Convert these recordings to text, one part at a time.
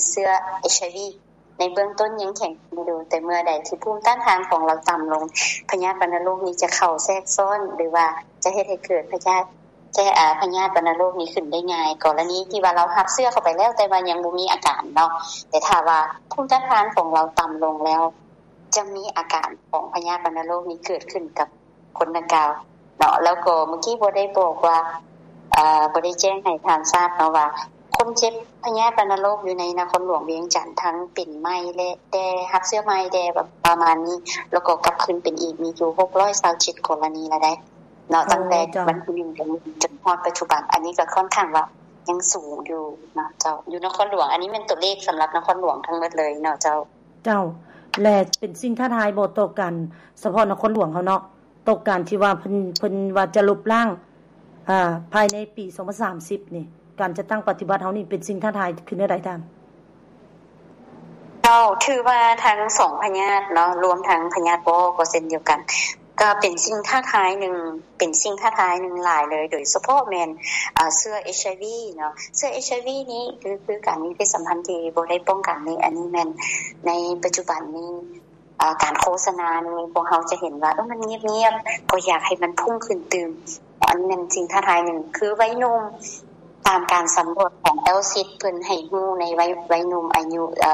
ເຊື້ອ HIV ໃນເບື້ອງຕົ້ນຍັງແຂງແຮງຢູ່, ແຕ່ເມື່ອໃດທີ່ພູມຕ້ານທານຂອງລາວຕ່ຳລົງ, ພະຍາດວັນນະໂລກນີ້ຈະເຂົ້າແຊກຊ້ອນ ຫຼືວ່າຈະເຮັດໃຫ້ເກີດພະຍາດ ແກ້ ອາ ພະຍາດວັນນະໂລກນີ້ຂຶ້ນໄດ້ງ່າຍ. ກໍລະນີທີ່ວ່າລາວຮັບເຊື້ອເຂົ້າໄປແລ້ວ ແຕ່ວ່າຍັງບໍ່ມີອາການເນາະ, ແຕ່ຖ້າວ່າພູມຕ້ານທານຂອງລາວຕ່ຳລົງແລ້ວ ຈະມີອາການຂອງພະຍາດວັນນະໂລກນີ້ເກີດຂຶ້ນກັບຄົນດັ່ງກ່າວເນາະ. ແລ້ວກໍເມື່ອກີ້ບໍ່ໄດ້ບອກວ່າ ເອີ ບໍ່ໄດ້ແຈ້ງໃຫ້ທ່ານຊາບເນາະວ່າ ຄົນເຈັບພະຍາດວັນນະໂລກຢູ່ໃນນະຄອນຫຼວງວຽງຈັນ ທັງເປັນໃໝ່ ແລະ ແຕ່ຮັບເຊື້ອໃໝ່ແດ່ ປະມານນີ້ ແລ້ວກໍກັບຄືນເປັນອີກ ມີຢູ່ຫົກຮ້ອຍຊາວເຈັດກໍລະນີລະໄດ໋ເນາະ. ໂອ້ ຕັ້ງແຕ່ ເຈົ້າ ວັນທີໜຶ່ງ ເດືອນນີ້ ຈົນຮອດປັດຈຸບັນ, ອັນນີ້ກໍຄ່ອນຂ້າງວ່າຍັງສູງຢູ່ເນາະເຈົ້າ, ຢູ່ນະຄອນຫຼວງ. ອັນນີ້ແມ່ນຕົວເລກສຳລັບນະຄອນຫຼວງທັງໝົດເລີຍເນາະເຈົ້າ. ເຈົ້າ ແລະ ເປັນສິ່ງທ້າທາຍບໍ່ຕໍ່ການ ສະເພາະນະຄອນຫຼວງເຮົາເນາະ, ຕໍ່ການທີ່ວ່າເພິ່ນ ເພິ່ນວ່າຈະລົບລ້າງ ອາ ພາຍໃນປີສອງພັນສາມສິບນີ້ ການຈັດຕັ້ງປະຕິບັດເຮົານີ້ເປັນສິ່ງທ້າທາຍຄືແນວໃດທ່ານ? ເຈົ້າ ຖືວ່າທັງສອງພະຍາດເນາະ ລວມທັງພະຍາດວໍກໍເຊັ່ນດຽວກັນ ກໍເປັນສິ່ງທ້າທາຍໜຶ່ງ ເປັນສິ່ງທ້າທາຍໜຶ່ງຫຼາຍເລີຍ, ໂດຍສະເພາະແມ່ນ ເຊື້ອ HIV ເນາະ. ເຊື້ອ HIV ນີ້ ຄື ຄືການມີເພດສຳພັນທີ່ບໍ່ໄດ້ປ້ອງກັນນີ້ ອັນນີ້ແມ່ນໃນປັດຈຸບັນນີ້ ເອີ ການໂຄສະນານີ້ ພວກເຮົາຈະເຫັນວ່າ ເອີ ມັນງຽບໆ ກໍຢາກໃຫ້ມັນພຸ່ງຂຶ້ນຕື່ມ. ອັນນັ້ນສິ່ງທ້າທາຍໜຶ່ງ ຄືໄວໜຸ່ມ, ຕາມການສຳຫຼວດຂອງ ແອລຊິດ ເພິ່ນໃຫ້ຮູ້ໃນໄວ ໄວໜຸ່ມອາຍຸ ເອີ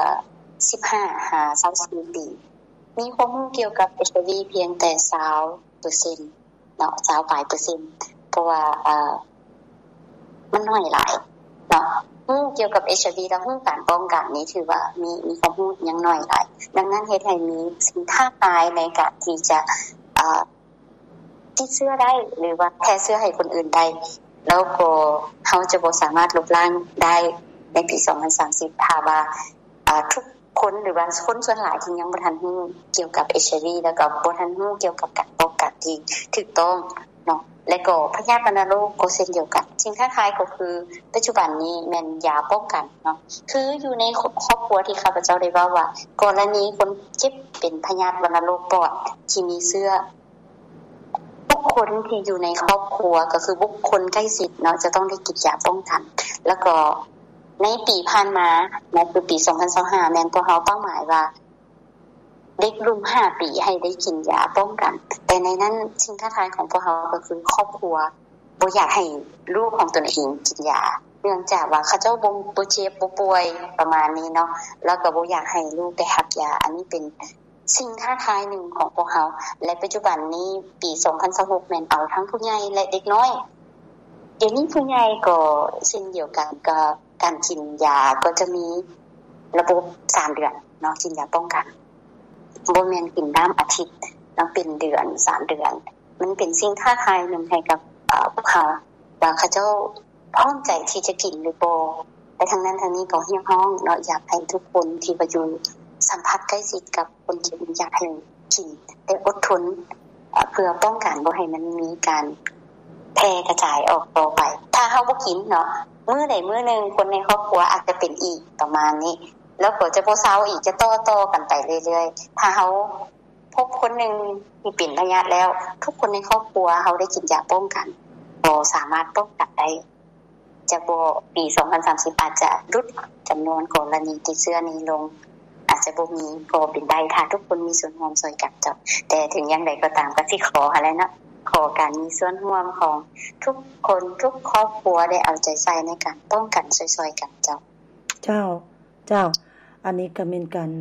ສິບຫ້າຫາຊາວສີ່ປີ ມີຄວາມຮູ້ກ່ຽວກັບ HIV ພຽງແຕ່ຊາວເປີເຊັນ ເນາະ ຊາວປາຍເປີເຊັນ ເພາະວ່າ ເອີ ມັນໜ້ອຍຫຼາຍເນາະ. ຮູ້ກ່ຽວກັບ HIV ແລ້ວຮູ້ການປ້ອງກັນນີ້ ຖືວ່າມີ ມີຄວາມຮູ້ຍັງໜ້ອຍຫຼາຍ. ດັ່ງນັ້ນເຮັດໃຫ້ມີສິ່ງທ້າທາຍໃນການທີ່ຈະ ເອີ ຕິດເຊື້ອໄດ້ ຫຼືວ່າແຜ່ເຊື້ອໃຫ້ຄົນອື່ນໄດ້, ແລ້ວກໍເຮົາຈະບໍ່ສາມາດລົບລ້າງໄດ້ໃນປີສອງພັນສາມສິບ ຖ້າວ່າ ເອີ ທຸກ ຄົນ ຫຼືວ່າຄົນສ່ວນຫຼາຍທີ່ຍັງບໍ່ທັນຮູ້ກ່ຽວກັບ HIV ແລ້ວກໍບໍ່ທັນຮູ້ກ່ຽວກັບການປ້ອງກັນທີ່ຖືກຕ້ອງເນາະ. ແລະກໍພະຍາດວັນນະໂລກກໍເຊັ່ນດຽວກັນ. ສິ່ງທ້າທາຍກໍຄືປັດຈຸບັນນີ້ແມ່ນຢາປ້ອງກັນເນາະ. ຄືຢູ່ໃນຄອບຄົວທີ່ຂ້າພະເຈົ້າໄດ້ເວົ້າວ່າ ກໍລະນີຄົນເຈັບເປັນພະຍາດວັນນະໂລກປອດທີ່ມີເຊື້ອ ທຸກຄົນທີ່ຢູ່ໃນຄອບຄົວ ກໍຄືບຸກຄົນໃກ້ຊິດເນາະ ຈະຕ້ອງໄດ້ກິນຢາປ້ອງກັນ. ແລ້ວກໍໃນປີຜ່ານມາເນາະ ຄືປີສອງພັນຊາວຫ້າ ແມ່ນພວກເຮົາເປົ້າໝາຍວ່າ ເດັກລຸ່ມຫ້າປີໃຫ້ໄດ້ກິນຢາປ້ອງກັນ, ແຕ່ໃນນັ້ນສິ່ງທ້າທາຍຂອງພວກເຮົາກໍຄືຄອບຄົວບໍ່ຢາກໃຫ້ລູກຂອງຕົນເອງກິນຢາ ເນື່ອງຈາກວ່າເຂົາເຈົ້າບໍ່ ບໍ່ເຈັບບໍ່ປ່ວຍປະມານນີ້ເນາະ, ແລ້ວກໍບໍ່ຢາກໃຫ້ລູກໄດ້ຮັບຢາ. ອັນນີ້ເປັນສິ່ງທ້າທາຍໜຶ່ງຂອງພວກເຮົາ ແລະ ປັດຈຸບັນນີ້ປີສອງພັນຊາວຫົກ ແມ່ນເອົາທັງຜູ້ໃຫຍ່ ແລະ ເດັກນ້ອຍ. ດຽວນີ້ຜູ້ໃຫຍ່ກໍເຊັ່ນດຽວກັນ ກໍ ການກິນຢາກໍຈະມີລະບົບສາມເດືອນເນາະ ກິນຢາປ້ອງກັນ, ບໍ່ແມ່ນກິນຕາມອາທິດເນາະ ເປັນເດືອນ ສາມເດືອນ. ມັນເປັນສິ່ງທ້າທາຍໜຶ່ງໃຫ້ກັບ ເອີ ພວກເຮົາ ວ່າເຂົາເຈົ້າພ້ອມໃຈທີ່ຈະກິນຫຼືບໍ່. ແຕ່ທັງນັ້ນທັງນີ້ກໍຮຽກຮ້ອງເນາະ ຢາກໃຫ້ທຸກຄົນທີ່ວ່າຢູ່ສຳຜັດໃກ້ຊິດກັບຄົນເຈັບນີ້ ຢາກໃຫ້ກິນ ແຕ່ອົດທົນ ເພື່ອປ້ອງກັນບໍ່ໃຫ້ມັນມີການແຜ່ກະຈາຍອອກຕໍ່ໄປ. ຖ້າເຮົາບໍ່ກິນເນາະ ມື້ໃດມື້ໜຶ່ງຄົນໃນຄອບຄົວອາດຈະເປັນອີກ ປະມານນີ້ ແລ້ວກໍຈະບໍ່ເຊົາອີກ ຈະຕໍ່ໆກັນໄປເລື້ອຍໆ. ຖ້າເຮົາພົບຄົນໜຶ່ງທີ່ເປັນພະຍາດແລ້ວ ທຸກຄົນໃນຄອບຄົວເຮົາໄດ້ກິນຢາປ້ອງກັນ ກໍສາມາດປ້ອງກັນໄດ້. ຈະບໍ່ ປີສອງພັນສາມສິບອາດຈະຫຼຸດຈຳນວນກໍລະນີຕິດເຊື້ອນີ້ລົງ ອາດຈະບໍ່ມີກໍເປັນໄດ້ ຖ້າທຸກຄົນມີສ່ວນຮ່ວມຊ່ວຍກັນເຈົ້າ. ແຕ່ເຖິງຢ່າງໃດກໍຕາມ ກໍຊິຂໍຫັ້ນແຫຼະເນາະ ຂໍການມີສ່ວນຮ່ວມຂອງທຸກຄົນ ທຸກຄອບຄົວ ໄດ້ເອົາໃຈໃສ່ໃນການປ້ອງກັນຊ່ວຍໆກັນເຈົ້າ. ເຈົ້າ ເຈົ້າ ອັນນີ້ກໍແມ່ນການ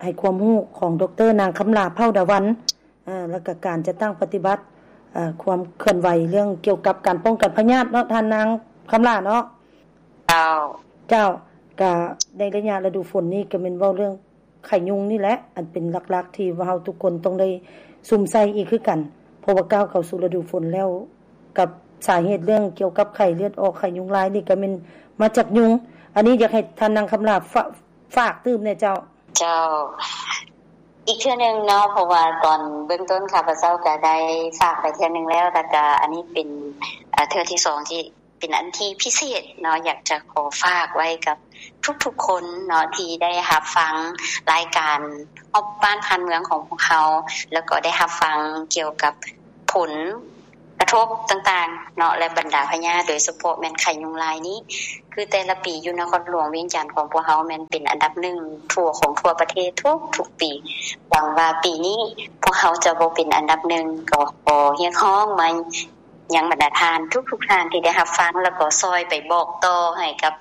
ໃຫ້ຄວາມຮູ້ຂອງ ດຣ ນາງຄຳຫຼ້າ ເຜົ່າດາວັນ ເອີ ແລ້ວກໍການຈັດຕັ້ງປະຕິບັດ ເອີ ຄວາມເຄື່ອນໄຫວເລື່ອງກ່ຽວກັບການປ້ອງກັນພະຍາດເນາະ ທ່ານນາງຄຳຫຼ້າເນາະ. ເຈົ້າ ເຈົ້າ ກະໃນໄລຍະລະດູຝົນນີ້ກໍແມ່ນເວົ້າເລື່ອງໄຂ້ຍຸງນີ້ແຫຼະ ອັນເປັນຫຼັກໆທີ່ວ່າເຮົາທຸກຄົນຕ້ອງໄດ້ສຸມໃສ່ອີກຄືກັນ ເພາະວ່າກ້າວເຂົ້າສູ່ລະດູຝົນແລ້ວ ກັບສາເຫດເລື່ອງກ່ຽວກັບໄຂ້ເລືອດອອກ ໄຂ້ຍຸງລາຍນີ້ກໍແມ່ນມາຈາກຍຸງ. ອັນນີ້ຢາກໃຫ້ທ່ານນາງຄຳຫຼ້າ ຝາກ ຝາກຕື່ມແດ່ເຈົ້າ. ເຈົ້າ ອີກເທື່ອໜຶ່ງເນາະ ເພາະວ່າຕອນເບື້ອງຕົ້ນຂ້າພະເຈົ້າກໍໄດ້ຝາກໄປເທື່ອໜຶ່ງແລ້ວ ແລ້ວກໍອັນນີ້ເປັນ ເອີ ເທື່ອທີສອງ ທີ່ເປັນອັນທີ່ພິເສດເນາະ ຢາກຈະຂໍຝາກໄວ້ກັບທຸກໆຄົນເນາະ ທີ່ໄດ້ຮັບຟັງລາຍການຮອບບ້ານຜ່ານເມືອງຂອງພວກເຮົາ ແລ້ວກໍໄດ້ຮັບຟັງກ່ຽວກັບຜົນ ກະທົບຕ່າງໆເນາະ ແລະ ບັນດາພະຍາດ ໂດຍສະເພາະແມ່ນໄຂ້ຍຸງລາຍນີ້ ຄືແຕ່ລະປີຢູ່ນະຄອນຫຼວງວຽງຈັນຂອງພວກເຮົາແມ່ນເປັນອັນດັບໜຶ່ງທົ່ວ ຂອງທົ່ວປະເທດທຸກໆປີ. ຫວັງວ່າປີນີ້ພວກເຮົາຈະບໍ່ເປັນອັນດັບໜຶ່ງ ກໍຂໍຮຽກຮ້ອງມາຍັງບັນດາທ່ານທຸກໆທ່ານທີ່ໄດ້ຮັບຟັງ ແລ້ວກໍຊ່ອຍໄປບອກຕໍ່ໃຫ້ກັບ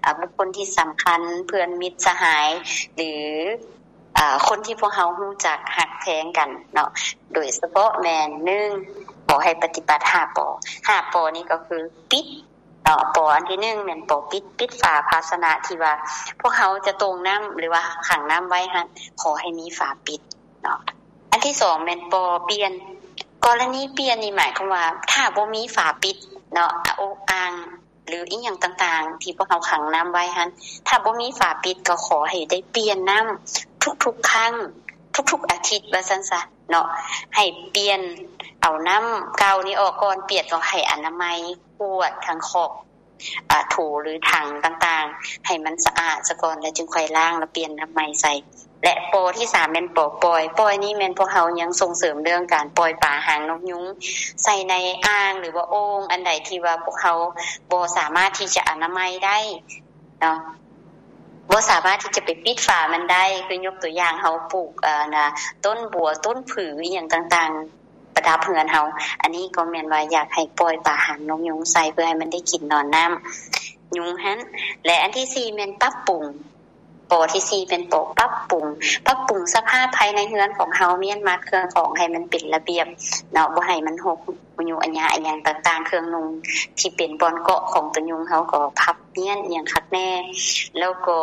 ອາ ບຸກຄົນທີ່ສຳຄັນ ເພື່ອນມິດສະຫາຍ ຫຼື ອາ ຄົນທີ່ພວກເຮົາຮູ້ຈັກຮັກແພງກັນເນາະ ໂດຍສະເພາະແມ່ນ ໜຶ່ງ ຂໍໃຫ້ປະຕິບັດຫ້າ ປ. ຫ້າ ປ ນີ້ກໍຄືປິດເນາະ. ປ ອັນທີໜຶ່ງແມ່ນ ປ ປິດ, ປິດຝາພາຊະນະທີ່ວ່າພວກເຮົາຈະຕົງນ້ຳ ຫຼືວ່າຂັງນ້ຳໄວ້ຫັ້ນ ຂໍໃຫ້ມີຝາປິດເນາະ. ອັນທີສອງແມ່ນ ປ ປ່ຽນ. ກໍລະນີປ່ຽນນີ້ໝາຍຄວາມວ່າ ຖ້າບໍ່ມີຝາປິດເນາະ ອາ ໂອ ອ່າງ ຫຼືອີ່ຫຍັງຕ່າງໆ ທີ່ພວກເຮົາຂັງນ້ຳໄວ້ຫັ້ນ ຖ້າບໍ່ມີຝາປິດ ກໍຂໍໃຫ້ໄດ້ປ່ຽນນ້ຳທຸກໆຄັ້ງ ທຸກໆອາທິດວ່າຊັ້ນຊະເນາະ. ໃຫ້ປ່ຽນເອົານ້ຳເກົ່ານີ້ອອກກ່ອນ, ປ່ຽນກໍໃຫ້ອະນາໄມຂວດ ຖັງຂອກ ອາ ໂຖ ຫຼືຖັງຕ່າງໆ ໃຫ້ມັນສະອາດສະກ່ອນ ແລ້ວຈຶ່ງຄ່ອຍລ້າງ ແລ້ວປ່ຽນນ້ຳໃໝ່ໃສ່. ແລະ ປ ທີສາມແມ່ນ ປ ປ່ອຍ. ປ່ອຍນີ້ແມ່ນພວກເຮົາຍັງສົ່ງເສີມເລື່ອງການປ່ອຍປາຫາງນົກຍຸງໃສ່ໃນອ່າງ ຫຼືວ່າໂອ່ງ ອັນໃດທີ່ວ່າພວກເຮົາບໍ່ສາມາດທີ່ຈະອະນາໄມໄດ້ເນາະ, ບໍ່ສາມາດທີ່ຈະໄປປິດຝາມັນໄດ້. ຄືຍົກຕົວຢ່າງ ເຮົາປູກ ອາ ນະ ຕົ້ນບົວ ຕົ້ນຜື ອີ່ຫຍັງຕ່າງໆ ປະດັບເຮືອນເຮົາ, ອັນນີ້ກໍແມ່ນວ່າຢາກໃຫ້ປ່ອຍປາຫາງນົກຍຸງໃສ່ ເພື່ອໃຫ້ມັນໄດ້ກິນນອນນ້ຳຍຸງຫັ້ນ. ແລະ ອັນທີສີ່ແມ່ນປັບປຸງ. ປ ທີສີ່ແມ່ນ ປ ປັບປຸງ. ປັບປຸງສະພາບພາຍໃນເຮືອນຂອງເຮົາ, ມ້ຽນມັດເຄື່ອງຂອງໃຫ້ມັນເປັນລະບຽບເນາະ, ບໍ່ໃຫ້ມັນຮົກ ອາຍຸອາຍະ ອີ່ຫຍັງຕ່າງໆ, ເຄື່ອງນຸ່ງທີ່ເປັນບ່ອນເກາະຂອງຕົວຍຸງ ເຮົາກໍພັບມ້ຽນອີ່ຫຍັງຄັກແນ່. ແລ້ວກໍ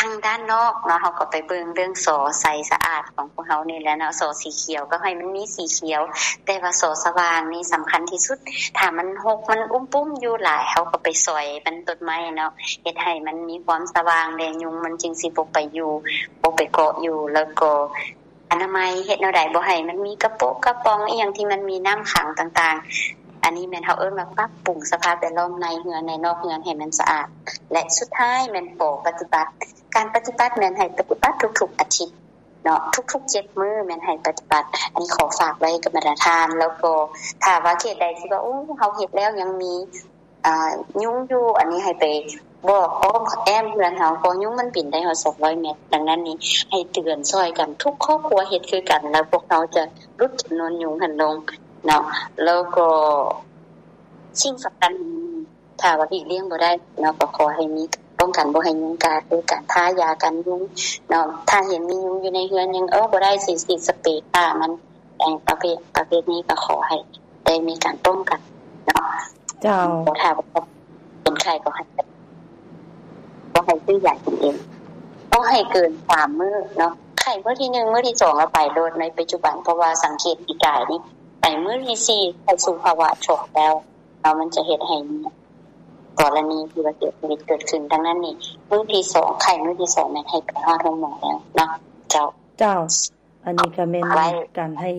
ທາງດ້ານນອກເນາະ ເຮົາກໍໄປເບິ່ງເລື່ອງສໍໃສສະອາດຂອງພວກເຮົານີ້ແຫຼະເນາະ. ສໍສີຂຽວກໍໃຫ້ມັນມີສີຂຽວ, ແຕ່ວ່າສໍສະຫວ່າງນີ້ສຳຄັນທີ່ສຸດ. ຖ້າມັນຮົກ ມັນອຸ້ມປຸ້ມຢູ່ຫຼາຍ ເຮົາກໍໄປຊອຍມັນຕົ້ນໄມ້ເນາະ, ເຮັດໃຫ້ມັນມີຄວາມສະຫວ່າງແດ່ ຍຸງມັນຈຶ່ງຊິບໍ່ໄປຢູ່ ບໍ່ໄປເກາະຢູ່. ແລ້ວກໍ ອະນາໄມ ເຮັດແນວໃດບໍ່ໃຫ້ມັນມີກະໂປະກະປ໋ອງອີ່ຫຍັງທີ່ມັນມີນ້ຳຂັງຕ່າງໆ. ອັນນີ້ແມ່ນເຮົາເອີ້ນວ່າປັບປຸງສະພາບແວດລ້ອມໃນເຮືອນ ໃນນອກເຮືອນໃຫ້ມັນສະອາດ. ແລະ ສຸດທ້າຍແມ່ນ ປ ປະຕິບັດ. ການປະຕິບັດແມ່ນໃຫ້ປະຕິບັດທຸກໆອາທິດເນາະ, ທຸກໆເຈັດມື້ແມ່ນໃຫ້ປະຕິບັດ. ອັນນີ້ຂໍຝາກໄວ້ກັບບັນດາທ່ານ. ແລ້ວກໍຖ້າວ່າເຂດໃດທີ່ວ່າ ໂອ້ ເຮົາເຮັດແລ້ວຍັງມີ ອາ ຍຸງຢູ່ ອັນນີ້ໃຫ້ໄປບອກອ້ອມແອ້ມເຮືອນເຮົາ ເພາະຍຸງມັນບິນໄດ້ຮອດສອງຮ້ອຍແມັດ. ດັ່ງນັ້ນນີ້ ໃຫ້ເຕືອນຊ່ອຍກັນ ທຸກຄອບຄົວເຮັດຄືກັນ ແລ້ວພວກເຮົາຈະຫຼຸດຈຳນວນຍຸງຫັ້ນລົງເນາະ. ແລ້ວກໍສິ່ງສຳຄັນ ຖ້າວ່າຫຼີກລ່ຽງບໍ່ໄດ້ເນາະ ກໍຂໍໃຫ້ມີປ້ອງກັນບໍ່ໃຫ້ຍຸງກັດ ໂດຍການທາຢາກັນຍຸງເນາະ. ຖ້າເຫັນມີຍຸງຢູ່ໃນເຮືອນຍັງ ເອີ ບໍ່ໄດ້ ຊິ ຊິສະເປຂ້າມັນ ແຕ່ປະເພດ ປະເພດນີ້ກໍຂໍໃຫ້ໄດ້ມີການປ້ອງກັນເນາະ. ເຈົ້າ. ບໍ່ຖ້າວ່າເປັນໄຂ້ກໍໃຫ້ ກໍໃຫ້ຊື້ຢາກິນເອງ, ບໍ່ໃຫ້ເກີນສາມມື້ເນາະ. ໄຂ້ມື້ທີໜຶ່ງ ມື້ທີສອງ ແລ້ວໄປໂລດໃນປັດຈຸບັນ, ເພາະວ່າສັງເກດປີກາຍນີ້ ໄປມື້ທີສີ່ ເຂົ້າສູ່ພາວະຊັອກແລ້ວເນາະ, ມັນຈະເຮັດໃຫ້ກໍລະນີທີ່ວ່າເສຍຊີວິດເກີດຂຶ້ນ. ດັ່ງນັ້ນນີ້ ມື້ທີສອງ ໄຂ້ມື້ທີສອງ ແມ່ນໃຫ້ໄປຮອດໂຮງໝໍແລ້ວເນາະ. ເຈົ້າ. ເຈົ້າ. ອັນນີ້ກໍແມ່ນການໃຫ້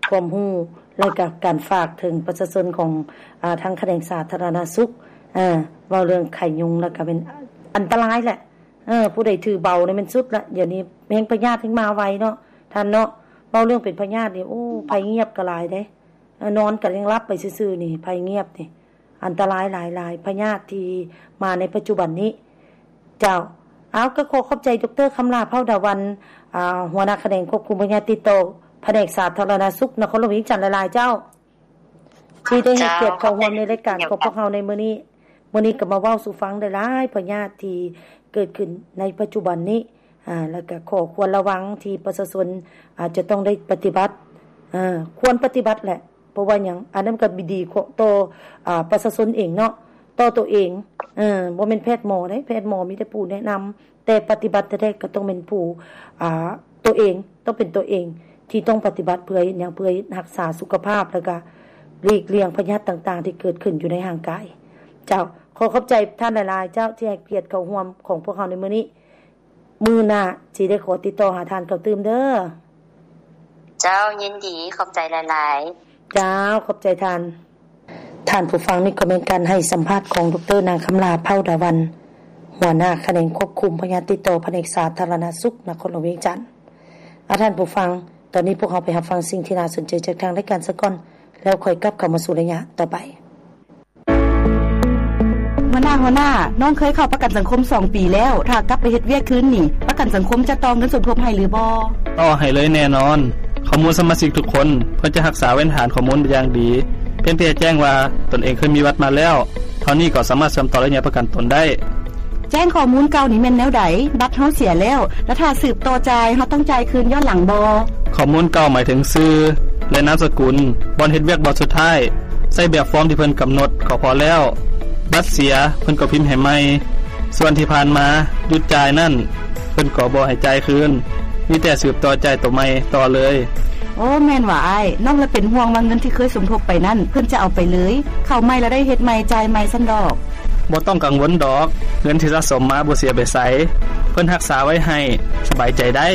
ຄວາມຮູ້ ແລະກໍການຝາກເຖິງປະຊາຊົນຂອງ ອາ ທາງຂະແໜງສາທາລະນະສຸກ ເວົ້າເລື່ອງໄຂ້ຍຸງ ແລ້ວກໍແມ່ນອັນຕະລາຍແຫຼະ. ເອີ ຜູ້ໃດຖືເບົານີ້ແມ່ນສຸດລະ. ດຽວນີ້ແຮ່ງພະຍາດແຮ່ງມາໄວເນາະທ່ານເນາະ. ເວົ້າເລື່ອງເປັນພະຍາດນີ້ ໂອ້ ໄພງຽບກໍຫຼາຍເດ້. ເອີ ນອນກໍຍັງຫຼັບໄປຊື່ໆນີ້ ໄພງຽບນີ້ ອັນຕະລາຍຫຼາຍໆ ພະຍາດທີ່ມາໃນປັດຈຸບັນນີ້. ເຈົ້າ. ເອົາ ກໍຂໍຂອບໃຈ ດຣ ຄຳຫຼ້າ ເຜົ່າດາວັນ ອາ ຫົວໜ້າຂະແໜງຄວບຄຸມພະຍາດຕິດຕໍ່ ພະແນກສາທາລະນະສຸກ ນະຄອນຫຼວງວຽງຈັນ ຫຼາຍໆ ເຈົ້າ ທີ່ໄດ້ໃຫ້ກຽດເຂົ້າຮ່ວມໃນລາຍການຂອງພວກເຮົາໃນມື້ນີ້. ມື້ນີ້ກໍມາເວົ້າສູ່ຟັງໄດ້ຫຼາຍພະຍາດທີ່ເກີດຂຶ້ນໃນປັດຈຸບັນນີ້ ອາ ແລ້ວກໍຂໍ້ຄວນລະວັງທີ່ປະຊາຊົນອາດຈະຕ້ອງໄດ້ປະຕິບັດ ອາ ຄວນປະຕິບັດແຫຼະ. ເພາະວ່າຫຍັງ? ອັນນັ້ນກໍດີຕໍ່ ອາ ປະຊາຊົນເອງເນາະ, ຕໍ່ຕົວເອງ. ເອີ ບໍ່ແມ່ນແພດໝໍເດ້, ແພດໝໍມີແຕ່ຜູ້ແນະນຳ, ແຕ່ປະຕິບັດແທ້ໆກໍຕ້ອງແມ່ນຜູ້ ອາ ຕົວເອງ, ຕ້ອງເປັນຕົວເອງທີ່ຕ້ອງປະຕິບັດ. ເພື່ອເຮັດຫຍັງ? ເພື່ອຮັກສາສຸຂະພາບ ແລ້ວກໍຫຼີກລ່ຽງພະຍາດຕ່າງໆທີ່ເກີດຂຶ້ນຢູ່ໃນຮ່າງກາຍ. ເຈົ້າ, ຂໍຂອບໃຈທ່ານຫຼາຍໆ ເຈົ້າ ທີ່ໃຫ້ກຽດເຂົ້າຮ່ວມຂອງພວກເຮົາໃນມື້ນີ້. ມື້ໜ້າຊິໄດ້ຂໍຕິດຕໍ່ຫາທ່ານເຂົ້າຕື່ມເດີ. ເຈົ້າ, ຍິນດີ, ຂອບໃຈຫຼາຍໆ. ເຈົ້າ, ຂອບໃຈທ່ານ. ທ່ານຜູ້ຟັງ, ນີ້ກໍແມ່ນການໃຫ້ສຳພາດຂອງ ດຣ ນາງ ຄຳຫຼ້າ ເຜົ່າດາວັນ, ຫົວໜ້າຂະແໜງຄວບຄຸມພະຍາດຕິດຕໍ່ ພະແນກສາທາລະນະສຸກ ນະຄອນຫຼວງວຽງຈັນ. ອາ, ທ່ານຜູ້ຟັງ, ຕອນນີ້ພວກເຮົາໄປຮັບຟັງສິ່ງທີ່ໜ້າສົນໃຈຈາກທາງລາຍການສາກ່ອນ. ແລ້ວຄ່ອຍກັບເຂົ້າມາສູ່ໄລຍະຕໍ່ໄປ. ຫົວໜ້າ, ຫົວໜ້າ, ນ້ອງເຄີຍເຂົ້າປະກັນສັງຄົມສອງປີແລ້ວ, ຖ້າກັບໄປເຮັດວຽກຄືນນີ້, ປະກັນສັງຄົມຈະຕໍ່ເງິນສົມທົບໃຫ້ຫຼືບໍ່? ຕໍ່ໃຫ້ເລີຍແນ່ນອນ. ຂໍ້ມູນສະມາຊິກທຸກຄົນ ເພິ່ນຈະຮັກສາເວນຖານຂໍ້ມູນຢ່າງດີ. ພຽງແຕ່ແຈ້ງວ່າຕົນເອງເຄີຍມີບັດມາແລ້ວ ເທົ່ານີ້ກໍສາມາດເຊື່ອມຕໍ່ໄລຍະປະກັນຕົນໄດ້. ແຈ້ງຂໍ້ມູນເກົ່ານີ້ແມ່ນແນວໃດ? ບັດເຮົາເສຍແລ້ວ, ແລ້ວຖ້າສືບຕໍ່ຈ່າຍ, ເຮົາຕ້ອງຈ່າຍຄືນຍ້ອນຫຼັງບໍ່? ຂໍ້ມູນເກົ່າໝາຍເຖິງຊື່ ແລະ ນາມສະກຸນ, ບ່ອນເຮັດວຽກບ່ອນສຸດທ້າຍ. ໃຊ້ແບບຟອມທີ່ເພິ່ນກຳນົດກໍພໍແລ້ວ. ບັດເສຍ, ເພິ່ນກໍພິມໃຫ້ໃໝ່. ສ່ວນທີ່ຜ່ານມາຢຸດຈ່າຍນັ້ນ, ເພິ່ນກໍບໍ່ໃຫ້ຈ່າຍຄືນ, ມີແຕ່ສືບຕໍ່ຈ່າຍໂຕໃໝ່ຕໍ່ເລີຍ. ໂອ້ ແມ່ນຫວາອ້າຍ. ນ້ອງລະເປັນຫ່ວງວ່າເງິນທີ່ເຄີຍສົມທົບໄປນັ້ນ ເພິ່ນຈະເອົາໄປເລີຍ. ເຂົ້າໃໝ່ລະໄດ້ເຮັດໃໝ່, ຈ່າຍໃໝ່ຊັ້ນດອກ. ບໍ່ຕ້ອງກັງວົນດອກ, ເງິນທີ່ສະສົມມາບໍ່ເສຍໄປໃສ, ເພິ່ນຮັກສາໄວ້ໃຫ້, ສະບາຍໃຈໄດ້.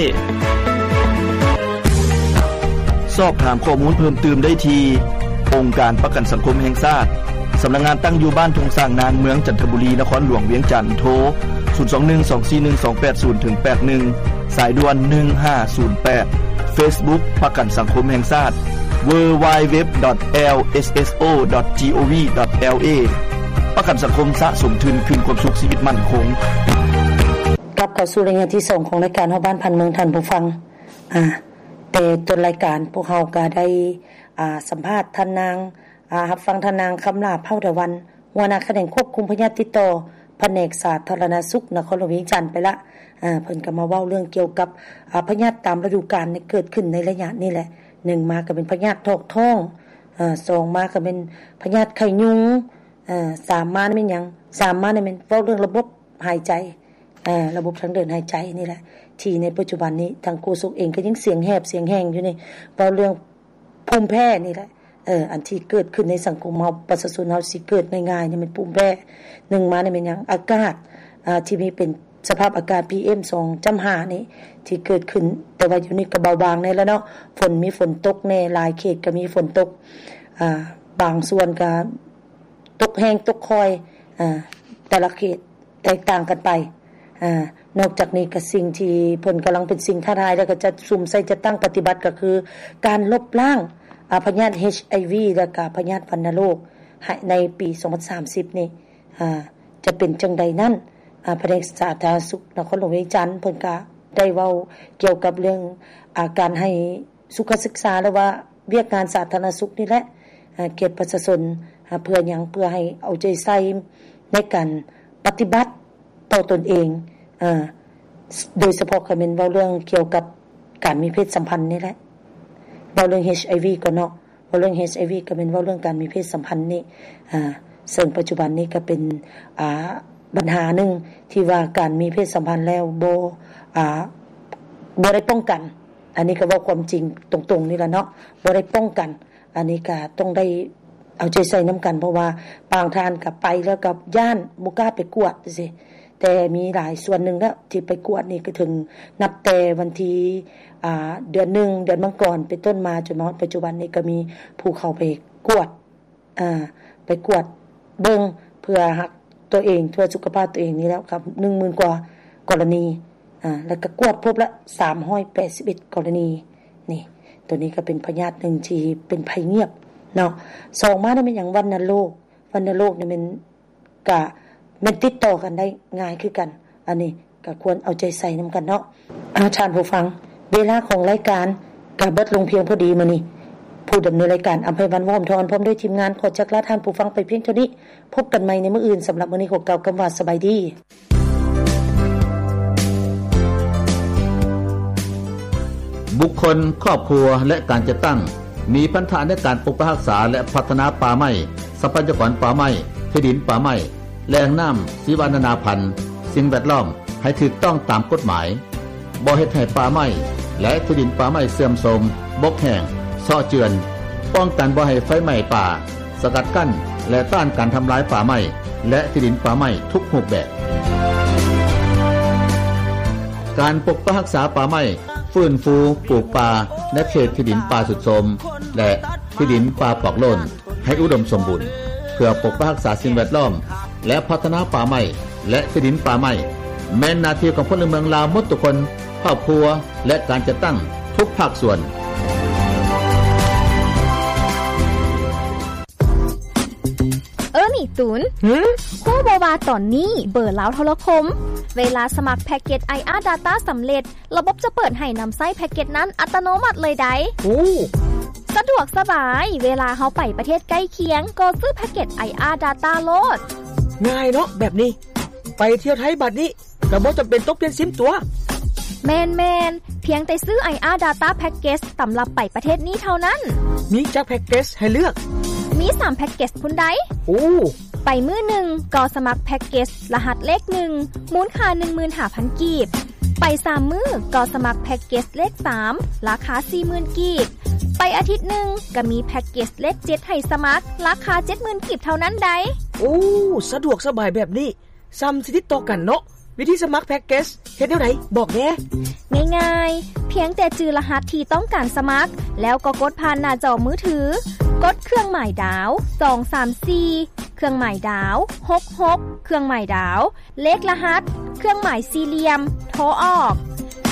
ສອບຖາມຂໍ້ມູນເພີ່ມຕື່ມໄດ້ທີ່ ອົງການປະກັນສັງຄົມແຫ່ງຊາດ, ສຳນັກງານຕັ້ງຢູ່ບ້ານທົ່ງຊ້າງນາງ, ເມືອງຈັນທະບູລີ, ນະຄອນຫຼວງວຽງຈັນ, ໂທ ສູນສອງໜຶ່ງ ສອງສີ່ໜຶ່ງ ສອງແປດສູນ ເຖິງ ແປດໜຶ່ງ, ສາຍດ່ວນ ໜຶ່ງຫ້າສູນແປດ, Facebook ປະກັນສັງຄົມແຫ່ງຊາດ www.lsso.gov.la ປະກັນສັງຄົມສະສົມທຶນຄືນຄວາມສຸກຊີວິດໝັ້ນຄົງ. ກັບເຂົ້າສູ່ໄລຍະທີສອງຂອງລາຍການຮອບບ້ານຜ່ານເມືອງ ທ່ານຜູ້ຟັງ. ອາ ແຕ່ຕົ້ນລາຍການພວກເຮົາກໍໄດ້ ອາ ສຳພາດທ່ານນາງ ອາ ຮັບຟັງທ່ານນາງ ຄຳຫຼ້າ ເຜົ່າດາວັນ ຫົວໜ້າຂະແໜງຄວບຄຸມພະຍາດຕິດຕໍ່ ພະແນກສາທາລະນະສຸກ ນະຄອນຫຼວງວຽງຈັນໄປລະ. ອາ ເພິ່ນກໍມາເວົ້າເລື່ອງກ່ຽວກັບ ອາ ພະຍາດຕາມລະດູການທີ່ເກີດຂຶ້ນໃນໄລຍະນີ້ແຫຼະ. ໜຶ່ງມາກໍແມ່ນພະຍາດຖອກທ້ອງ, ອາ ສອງມາກໍແມ່ນພະຍາດໄຂ້ຍຸງ, ອາ ສາມມາແມ່ນຫຍັງ? ສາມມາແມ່ນເວົ້າເລື່ອງລະບົບຫາຍໃຈ, ອາ ລະບົບທາງເດີນຫາຍໃຈນີ້ແຫຼະ ທີ່ໃນປັດຈຸບັນນີ້ທາງໂຄສົກເອງກໍຍັງສຽງແຫບສຽງແຮງຢູ່ນີ້ ເວົ້າເລື່ອງ ພູມແພ້ນີ້ແຫຼະ ເອີ ອັນທີ່ເກີດຂຶ້ນໃນສັງຄົມເຮົາ ປະຊາຊົນເຮົາຊິເກີດງ່າຍໆນີ້ແມ່ນພູມແພ້. ໜຶ່ງມານີ້ແມ່ນຫຍັງ? ອາກາດ ອາ ທີ່ມີເປັນສະພາບອາກາດ ພີເອັມສອງຈຸດຫ້ານີ້ ທີ່ເກີດຂຶ້ນ, ແຕ່ວ່າດຽວນີ້ກໍເບົາບາງແດ່ແລ້ວເນາະ, ຝົນ ມີຝົນຕົກແດ່, ຫຼາຍເຂດກໍມີຝົນຕົກ, ອາ ບາງສ່ວນກໍຕົກແຮງຕົກຄ່ອຍ, ອາ ແຕ່ລະເຂດ ແຕກຕ່າງກັນໄປ. ອາ ນອກຈາກນີ້ກໍສິ່ງທີ່ເພິ່ນກຳລັງເປັນສິ່ງທ້າທາຍ ແລ້ວກໍຈະສຸມໃສ່ຈັດຕັ້ງປະຕິບັດ ກໍຄືການລົບລ້າງ ອາ ພະຍາດ ເອັຈໄອວີ ແລ້ວກໍພະຍາດວັນນະໂລກໃນປີສອງພັນສາມສິບນີ້ ອາ ຈະເປັນຈັ່ງໃດນັ້ນ. ອາ ພະແນກສາທາລະນະສຸກນະຄອນຫຼວງວຽງຈັນ ເພິ່ນກໍໄດ້ເວົ້າກ່ຽວກັບເລື່ອງ ອາ ການໃຫ້ ສຸຂະສຶກສາ ຫຼືວ່າວຽກງານສາທາລະນະສຸກນີ້ແຫຼະ ອາ ແກ່ປະຊາຊົນ. ອາ ເພື່ອຫຍັງ? ເພື່ອໃຫ້ເອົາໃຈໃສ່ໃນການປະຕິບັດຕໍ່ຕົນເອງ, ອາ ໂດຍສະເພາະກໍແມ່ນເວົ້າເລື່ອງກ່ຽວກັບການມີເພດສຳພັນນີ້ແຫຼະ. ເວົ້າເລື່ອງ ເອັຈໄອວີ ກ່ອນເນາະ, ເວົ້າເລື່ອງ ເອັຈໄອວີ ກໍແມ່ນເວົ້າເລື່ອງການມີເພດສຳພັນນີ້, ອາ ເຊິ່ງປັດຈຸບັນນີ້ກໍເປັນ ອາ ບັນຫາໜຶ່ງທີ່ວ່າການມີເພດສຳພັນແລ້ວບໍ່ ອາ ບໍ່ໄດ້ປ້ອງກັນ. ອັນນີ້ກໍເວົ້າຄວາມຈິງຕົງໆນີ້ລະເນາະ, ບໍ່ໄດ້ປ້ອງກັນ. ອັນນີ້ກໍຕ້ອງໄດ້ເອົາໃຈໃສ່ນຳກັນ ເພາະວ່າບາງທ່ານກໍໄປແລ້ວກໍຢ້ານບໍ່ກ້າໄປກວດຈັ່ງຊີ້, ແຕ່ມີຫຼາຍສ່ວນໜຶ່ງແລ້ວທີ່ໄປກວດນີ້ ກໍເຖິງນັບແຕ່ວັນທີ ອາ ເດືອນໜຶ່ງ ເດືອນມັງກອນເປັນຕົ້ນມາ ຈົນມາຮອດປັດຈຸບັນນີ້ ກໍມີຜູ້ເຂົ້າໄປກວດ ອາ ໄປກວດເບິ່ງເພື່ອຮັກຕົວເອງ ເພື່ອສຸຂະພາບຕົວເອງນີ້ແລ້ວກັບ ໜຶ່ງໝື່ນກວ່າກໍລະນີ, ອາ ແລ້ວກໍກວດພົບລະ ສາມຮ້ອຍແປດສິບເອັດ ກໍລະນີ. ນີ້ ໂຕນີ້ກໍເປັນພະຍາດໜຶ່ງທີ່ເປັນໄພງຽບເນາະ. ສອງມານີ້ແມ່ນຫຍັງ? ວັນນະໂລກ. ວັນນະໂລກນີ້ແມ່ນ ກະແມ່ນຕິດຕໍ່ກັນໄດ້ງ່າຍຄືກັນ. ອັນນີ້ກໍຄວນເອົາໃຈໃສ່ນຳກັນເນາະ. ອາ ທ່ານຜູ້ຟັງ, ເວລາຂອງລາຍການກໍເບິດລົງພຽງພໍດີມື້ນີ້. ຜູ້ດຳເນີນລາຍການ ອຳໄພວັນ ວໍ້າທອນ ພ້ອມດ້ວຍທີມງານ ຂໍຈັກລາທ່ານຜູ້ຟັງໄປພຽງເທົ່ານີ້. ພົບກັນໃໝ່ໃນມື້ອື່ນ. ສຳລັບມື້ນີ້ ຂໍກ່າວຄຳວ່າສະບາຍດີ. ບຸກຄົນ, ຄອບຄົວ ແລະ ການຈັດຕັ້ງ ມີພັນທະໃນການປົກປັກຮັກສາ ແລະ ພັດທະນາປ່າໄມ້, ຊັບພະຍາກອນປ່າໄມ້, ທີ່ດິນປ່າໄມ້, ແຫຼ່ງນ້ຳ, ຊີວະນານາພັນ, ສິ່ງແວດລ້ອມ ໃຫ້ຖືກຕ້ອງຕາມກົດໝາຍ, ບໍ່ເຮັດໃຫ້ປ່າໄມ້ ແລະ ທີ່ດິນປ່າໄມ້ເສື່ອມໂຊມ, ບົກແຫ້ງ, ເຊາະເຈື່ອນ, ປ້ອງກັນບໍ່ໃຫ້ໄຟໄໝ້ປ່າ, ສະກັດກັ້ນ ແລະ ຕ້ານການທຳລາຍປ່າໄມ້ ແລະ ທີ່ດິນປ່າໄມ້ທຸກຮູບແບບ. ການປົກປັກຮັກສາປ່າໄມ້, ຟື້ນຟູປູກປ່າໃນເຂດທີ່ດິນປ່າຊຸດໂຊມ ແລະ ທີ່ດິນປ່າປອກໂລ້ນ ໃຫ້ອຸດົມສົມບູນ ເພື່ອປົກປັກຮັກສາສິ່ງແວດລ້ອມ ແລະ ພັດທະນາປ່າໄມ້ ແລະ ທີ່ດິນປ່າໄມ້ ແມ່ນໜ້າທີ່ຂອງພົນລະເມືອງລາວໝົດທຸກຄົນ, ຄອບຄົວ ແລະ ການຈັດຕັ້ງທຸກພາກສ່ວນ. ສູນ. ຫື? ຮູ້ບໍ່ວ່າຕອນນີ້ເບີລາວໂທລະຄົມ ເວລາສະໝັກແພັກເກັດໄອອາດາຕ້າສຳເລັດ ລະບົບຈະເປີດໃຫ້ນຳໃຊ້ແພັກເກັດນັ້ນອັດຕະໂນມັດເລີຍໃດ. ໂອ້ ສະດວກສະບາຍ, ເວລາເຮົາໄປປະເທດໃກ້ຄຽງ ກໍຊື້ແພັກເກັດໄອອາດາຕ້າໂລດ. ງ່າຍເນາະແບບນີ້. ໄປທ່ຽວໄທບາດນີ້ ກໍບໍ່ຈຳເປັນຕ້ອງປ່ຽນຊິມຕົວະ. ແມ່ນໆ, ພຽງແຕ່ຊື້ໄອອາດາຕ້າແພັກເກັດສຳລັບໄປປະເທດນີ້ເທົ່ານັ້ນ. ມີຈັກແພັກເກັດສໃຫ້ເລືອກ? ມີສາມແພັກເກັດສພຸ້ນໃດ. ໂອ້ ໄປມື້ໜຶ່ງກໍສະໝັກແພັກເກັດສລະຫັດເລກໜຶ່ງ ມູນຄ່າໜຶ່ງໝື່ນຫ້າພັນກີບ. ໄປສາມມື້ກໍສະໝັກແພັກເກັດສເລກສາມ ລາຄາສີ່ໝື່ນກີບ. ໄປອາທິດໜຶ່ງກໍມີແພັກເກັດສເລກເຈັດໃຫ້ສະໝັກ ລາຄາເຈັດໝື່ນກີບເທົ່ານັ້ນໃດ. ໂອ້ ສະດວກສະບາຍແບບນີ້ ສ່ຳຊິຕິດຕໍ່ກັນເນາະ. ວິທີສະໝັກແພັກເກັດສເຮັດແນວໃດ? ບອກແດ່. ງ່າຍໆ, ພຽງແຕ່ຈື່ລະຫັດທີ່ຕ້ອງການສະໝັກ ແລ້ວກໍກົດຜ່ານໜ້າຈໍມືຖື, ກົດເຄື່ອງໝາຍດາວ ສອງສາມສີ່ ເຄື່ອງໝາຍດາວ ຫົກຫົກ ເຄື່ອງໝາຍດາວ ເລກລະຫັດ ເຄື່ອງໝາຍສີ່ຫຼ່ຽມ ໂທອອກ.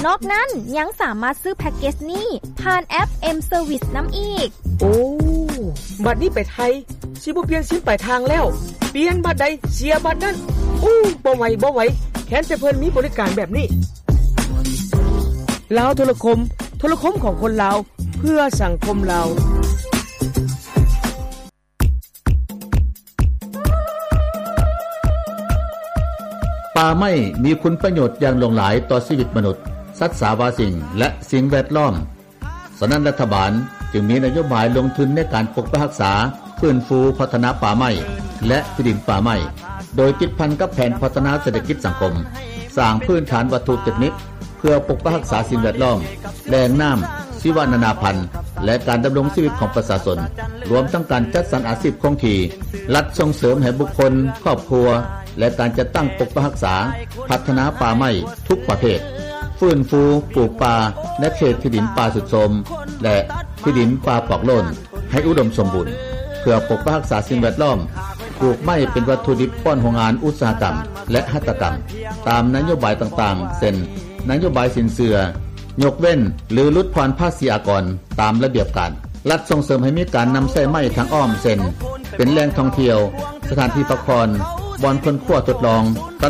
ນອກນັ້ນຍັງສາມາດຊື້ແພັກເກັດສນີ້ຜ່ານແອັບ M-Service ນຳອີກ. ໂອ້ ບັດນີ້ໄປໄທ ຊິບໍ່ປ່ຽນຊິມປາຍທາງແລ້ວ, ປ່ຽນບັດໃດເສຍບັດນັ້ນ. ໂອ້ ບໍ່ໄຫວ ບໍ່ໄຫວ, ແຄ້ນແຕ່ເພິ່ນມີບໍລິການແບບນີ້. ລາວໂທລະຄົມ, ໂທລະຄົມຂອງຄົນລາວ ເພື່ອສັງຄົມລາວ. ປ່າໄມ້ມີຄຸນປະໂຫຍດຢ່າງຫຼວງຫຼາຍຕໍ່ຊີວິດມະນຸດ, ສັດສາວາສິ່ງ ແລະ ສິ່ງແວດລ້ອມ. ສະນັ້ນລັດຖະບານຈຶ່ງມີນະໂຍບາຍລົງທຶນໃນການປົກປັກຮັກສາ, ຟື້ນຟູ, ພັດທະນາປ່າໄມ້ ແລະ ທີ່ດິນປ່າໄມ້, ໂດຍຕິດພັນກັບແຜນພັດທະນາເສດຖະກິດສັງຄົມ, ສ້າງພື້ນຖານວັດຖຸເຕັກນິກ ເພື່ອປົກປັກຮັກສາສິ່ງແວດລ້ອມ, ແຫຼ່ງນ້ຳ, ຊີວະນານາພັນ ແລະ ການດຳລົງຊີວິດຂອງປະຊາຊົນ, ລວມທັງການຈັດສັນອາຊີບຄົງທີ່. ລັດສົ່ງເສີມໃຫ້ບຸກຄົນ, ຄອບຄົວ ແລະ ການຈັດຕັ້ງປົກປັກຮັກສາ, ພັດທະນາປ່າໄມ້ທຸກປະເພດ, ຟື້ນຟູ, ປູກປ່າໃນເຂດທີ່ດິນປ່າຊຸດໂຊມ ແລະ ທີ່ດິນປ່າປອກໂລ້ນ ໃຫ້ອຸດົມສົມບູນ ເພື່ອປົກປັກຮັກສາສິ່ງແວດລ້ອມ, ປູກໄມ້ເປັນວັດຖຸດິບປ້ອນໂຮງງານອຸດສາຫະກຳ ແລະ ຫັດຖະກຳ ຕາມນະໂຍບາຍຕ່າງໆ ເຊັ່ນ ນະໂຍບາຍສິນເຊື່ອ, ຍົກເວັ້ນ ຫຼື ຫຼຸດຜ່ອນພາສີອາກອນຕາມລະບຽບການ. ລັດສົ່ງເສີມໃຫ້ມີການນຳໃຊ້ໄມ້ທາງອ້ອມ ເຊັ່ນ ເປັນແຫຼ່ງທ່ອງທ່ຽວ, ສະຖານທີ່ພັກຜ່ອນ, ບ່ອນຄົ້ນຄວ້າທົດລອງ, ຕ